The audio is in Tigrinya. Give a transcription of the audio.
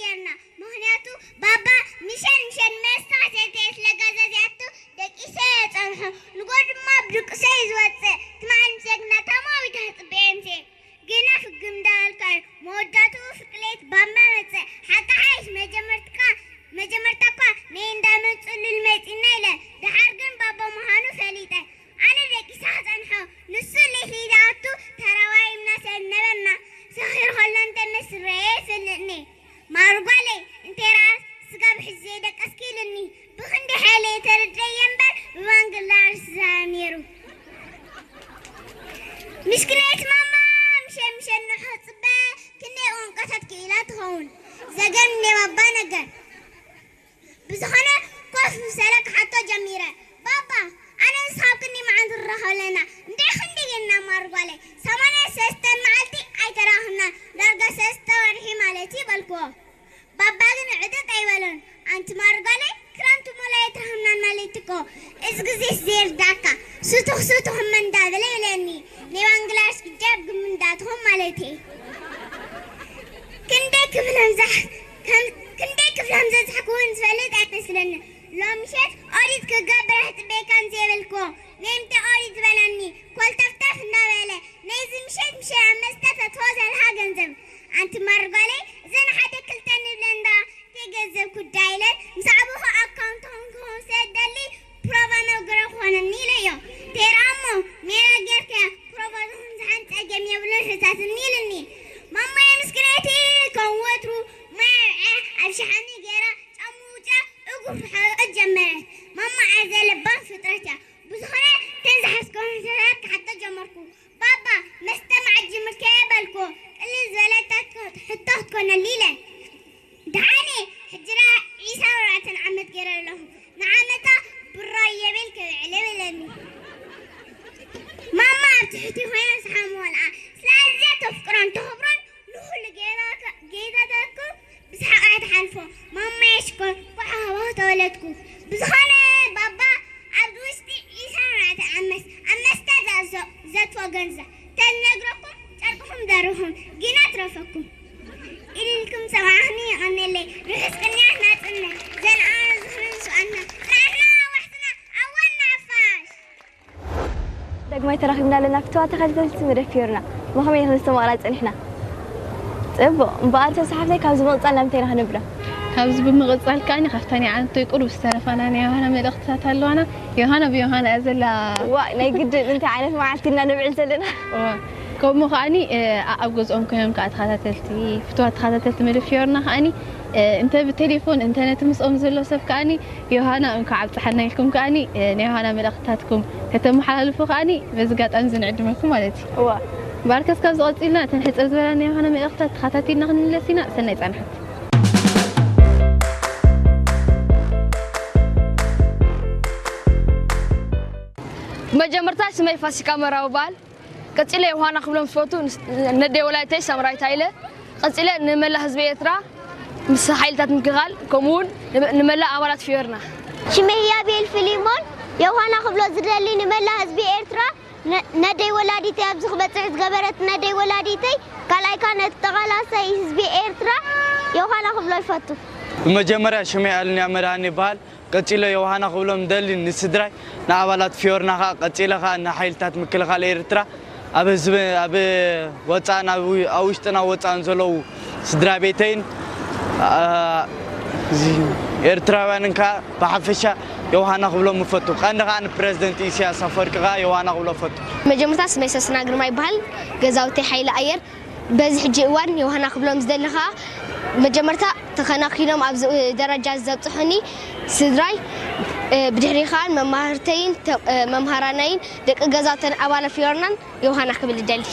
ጌርና። ምኽንያቱ ባባ ምሸት ምሸት መስተ ሰተየ ስለ ጋዛዚኣቱ ደቂሰ እየ ጸንሖ። ንጎ ድማ ብድቅሰ እዩ ዝወጽእ። ትማሊ ምስ ጀግና ታማዊት ኣጽብኤ ምሴ ግና ፍግም እንዳበልካ እዩ። መወዳእትኡ ፍቅሌት ባባ መጸ። ሓቂ ሓይሽ መጀመርትካ መጀመርታ እኳ ነይ እንዳመጹ ልል መጺና ኢለ። ደሓር ግን ባባ ምዃኑ ፈሊጠ። ኣነ ደቂሰ ክጸንሖ፣ ንሱ ሌሊት ይኣቱ ተረባይብና ሰብ ነበርና። ሰኺሩ ከሎ እንተ ምስ ረኤ ይፈልጥኒ። ማርጓለይ፣ እንተ ረኣስ ስጋብ ሕጂ ዘይደቀስኪ ኢሉኒ። ብኽንዲ ሓይለይ ተረድኤዮ እምበር ብባንግላርስ ዝዛረብ ነይሩ። ምስክነይት ማማ፣ ምሸት ምሸት ንሕጽበ ክንደይ ቋንቋታት ክኢላ ትኸውን። ዘገርም ናይ ባባ ነገር። ብዝኾነ ኮፍ ምስ በለ ክሓቶ ጀሚረ። ባባ፣ ኣነ ንስኻ ኣብ ክንደይ መዓልቲ ንራኸብ ኣለና? እንታይ ክንደይ ጌርና ማርጓለይ? ሰማንያ ሰለስተ መዓልቲ ኣይተራኸብናን፣ ዳርጋ ሰለስተ ወርሒ ማለት እዩ በልክዎ። ባባ ግን ዕጥጥ ኣይበሎን። ኣንቲ ማርጓለይ፣ ክረምቲ ሙሉ ኣይተራኸብናን ማለት እኮ። እዚ ግዜስ ዘይርዳእካ፣ ስቱኽ ስቱኽ እመ እንዳበለ ይብለኒ። ናይ ባንግላሽ ግጃብ ግም እንዳትኾን ማለት እዩ። ክንደይ ክፍሎም ዘሕ-፣ ከም-፣ ክንደይ ክፍሎም ዘዝሕክዎን ዝፈልጥ ኣይመስለንን። ሎሚ ምሸት ኦዲት ክገብር ኣሕጽበይካን ዘይበልክዎ፣ ነይምተ ኦዲት ዝበለኒ፣ ኮልተፍተፍ እንዳበለ፣ ነይዚ ምሸት ምሸት ኣብ መስተ ተትሆ ዘለኻ ገንዘብ። ኣንቲ ማርጓለይ፣ እዘን ሓደ ክልተ ንብለን ዳ፣ ተይ ገንዘብ ኩዳ ኢለን፣ ምስ ዓበኹ ኣካውንትኹም ክኸውን ስለ ዝደሊ፣ ፕሮቫ መግረ ክኾነኒ ኢለዮ። ተይራ እሞ፣ ሜራ ጌርካያ፣ ፕሮቫ ዝኹን ዝሓን ጸገም የብሉን ሕታትኒ ኢልኒ። ማማየ ምስክነይቲ ከም ወትሩ፣ ማይ ኣብ ሸሓኒ ገይራ፣ ጫሙ ውጫ እግሩ ክሓርቕ ጀመረ። ማማ ኣዝያ ለባም ፍጥረት እያ። ብዝኾነ፣ እተን ዝሓዝከውን ሕቶታት ክሓቶ ጀመርኩ። ባባ፣ መስተ መዓት ጀሚርካዮ በልኩ። ቅልል ዝበለት ሕቶ ክትኮነሉ ኢለ። ደሓነ፣ ሕጂ ደኣ ዒስራን ኣርባዕተን ዓመት ገይረ ኣለኹ። ንዓመታ ብራየ ቤል ከብዕለ በለኒ። ማማ ኣብ ትሕቲ ኮይና ዝሓመወልኣ። ስለ ኣዝያ ተፍቅሮን ተኽብሮን ንኹሉ ጌጋ-፣ ጌጋታትኩም ብሰሓቕ እያ ትሓልፎ። ማማየ ሽኮር፣ እንኳዕ ሃዋሁ ተወለድኩ። ብዝኾነ ባባ፣ ኣብዚ ውሽጢ ዒስራን ኣርባዕተን ዓመት ኣብ መስተ ዘእዞ-፣ ዘእትዎ ገንዘብ ተዝነግረኩም፣ ጨርቅኹም ደሪኹም ግና ትረፈኩም። ኢልልኩም ሰማዕኽኒ፣ የቐንየለይ። ርሑስ ቅንያት ናጽነት። ዘልኣለማዊ ዝኽሪ ንስውኣትና። ጽናሕና ኣዋሕስና ኣብ ዋና ሓፋሽ። ዳግማይ ተራኺብና ኣለና። ፍትዋ ተኸታተልቲ መደብ ፊዮርና፣ ብኸመይ ክንስተማቕራ ጸኒሕና? ጽቡቕ። እምበኣር፣ ተሳሓብተይ፣ ካብዚ ብምቕጻል ናብ እንታይ ኢና ክንብሎ? ካብዚ ብምቕጻል ከኣኒ፣ ካብታ ናይ ዓንቶይ ቁሩብ ዝተረፋና ናይ ዮሃና መልእኽትታት ኣለዋና። ዮሃና ብዮሃና እያ ዘላ። ዋ፣ ናይ ግድን እንታይ ዓይነት መዓልቲ ኢና ነብዕል ዘለና? እዋ፣ ከምኡ ከኣኒ፣ እ፣ ኣ-፣ ኣብ ገዝኦም ኮይኖም ከኣ ተኸታተልቲ፣ ፍትዋት ተኸታተልቲ መደብ ፊዮርና ከኣኒ፣ እ፣ እንተ ብቴሌፎን፣ እንተ ነቲ ምስኦም ዘሎ ሰብ ከኣኒ፣ ዮሃና እንኳዕ ኣብጽሓና ኢልኩም ከኣኒ፣ እ፣ ናይ ዮሃና መልእኽትታትኩም ከተመሓላልፉ ከኣኒ በዚ ኣጋጣሚ እዚ ንዕድመኩም ማለት እዩ። እዋ። እምበኣርከስ ካብዚ ቀጺልና እተን ሕጽር ዝበላ ናይ ዮሃና መልእኽትታት ተኸታቲልና ክንምለስ ኢና። ሰናይ ጻንሖት። ብመጀመርታ ስመይ ፋሲካ መራዊ ይበሃል። ቀጺለ ዮሃና ክብሎም ዝፈቱ ንስ-፣ ነደይ ወላዲተይ ሳምራዊት ሃይለ፣ ቀጺለ ንመላእ ህዝቢ ኤርትራ ምስ ሓይልታት ምክልኻል፣ ከምኡውን ንመ-፣ ንመላእ ኣባላት ፊዮርና። ሽመይ ህያቤል ፊሊሞን፣ ዮሃና ክብሎ ዝደሊ ንመላእ ህዝቢ ኤርትራ፣ ነ-፣ ነደይ ወላዲተይ ኣብዚ ክበጽሕ ዝገበረት ነደይ ወላዲተይ፣ ካልኣይ ከኣ ነቲ ተቓላሳይ ህዝቢ ኤርትራ ዮሃና ክብሎ ይፈቱ። ብመጀመርያ ሽመይ ኣልንያ መድሃን ይበሃል። ቀጺለ ዮሃና ክብሎም ደሊ ንስድራይ፣ ንኣባላት ፊዮርና ኸኣ፣ ቀጺለ ኸኣ ንሓይልታት ምክልኻል ኤርትራ፣ ኣብ ህዝቢ፣ ኣብ ወጻእን ኣብ ው-፣ ኣብ ውሽጥን ኣብ ወጻእን ዘለዉ ስድራ ቤተይን፣ ኣ፣ እዚ ኤርትራውያንን ከኣ ብሓፈሻ ዮሃና ክብሎም እፈቱ። ቀንዲ ኸኣ ንፕረዚደንት ኢሳያስ ኣፈወርቂ ኸኣ ዮሃና ክብሎ እፈቱ። መጀመርታ ስመይ ሰስና ግርማ ይበሃል። ገዛውተይ ሓይሊ ኣየር። በዚ ሕጂ እዋን ዮሃና ክብሎም ዝደሊ ኸኣ፣ መጀመርታ ተኸናኺኖም ኣብዚ ደረጃ ዘብጽሑኒ ስድራይ፣ እ፣ ብድሕሪ ኸኣ መማህርተይን ተ-፣ እ፣ መምሃራነይን ደቂ ገዛውተን ኣባላት ፊዮርናን ዮሃና ክብል እደሊ።